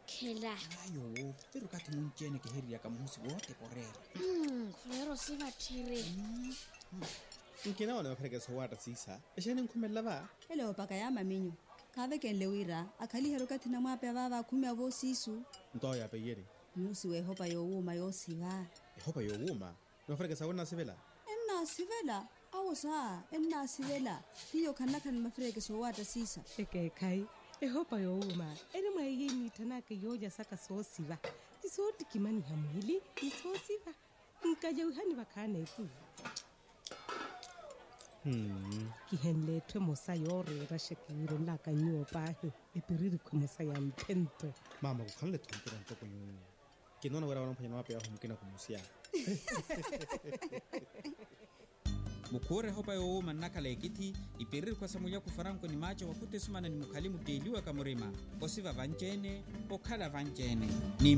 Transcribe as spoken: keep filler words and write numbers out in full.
Khela. Ayo. Pero kathi munci-ene kihiririyaka muhusi wote koreera. Khurero sivatthiri. Nkinawana maperekesa owaatta siisa. Exeeni nkhumelela va? Ela oopaka ya maminyu. Khaavekenle wira akhaliherye okathi namwaapeya vaava akhumi avo siisu. Nto awo yaapeyerye. Muhusi w'ehopa yoowuuma yoosiva. Ehopa yoowuuma? Ni mafirekesa awo ennaasivela? Ennaasivela. Awo saa ennaasivela. Hiyo khannakhala ni mafirekesa owaatta siisa. Ekeekhayi. Ehopa yoowuuma eri mwa iyo iniitthanaaka yoolya saka soosiva, ni soottikimaniha mwiili, ni soosiva. Nkajawihani vakhaana etu. Kihenle etthu emosa yooreera xekiwiirenlaka nyuwo paahi. Epiririkhu emosa ya mphento. Maama khukhanle-tho mpira ntoko nyuwo. Kinoona wira wala mphwanyana waapeya ahu mukina khumusiya. Mukhuure ehopa yoowuuma nnakhala ekithi. Ipiririkhu esa mulyaku faranko ni maaco wakhuta esumana ni mukhali mutteeliwaka murima. Osiva vanci-ene. Okhala vanci-ene. Ni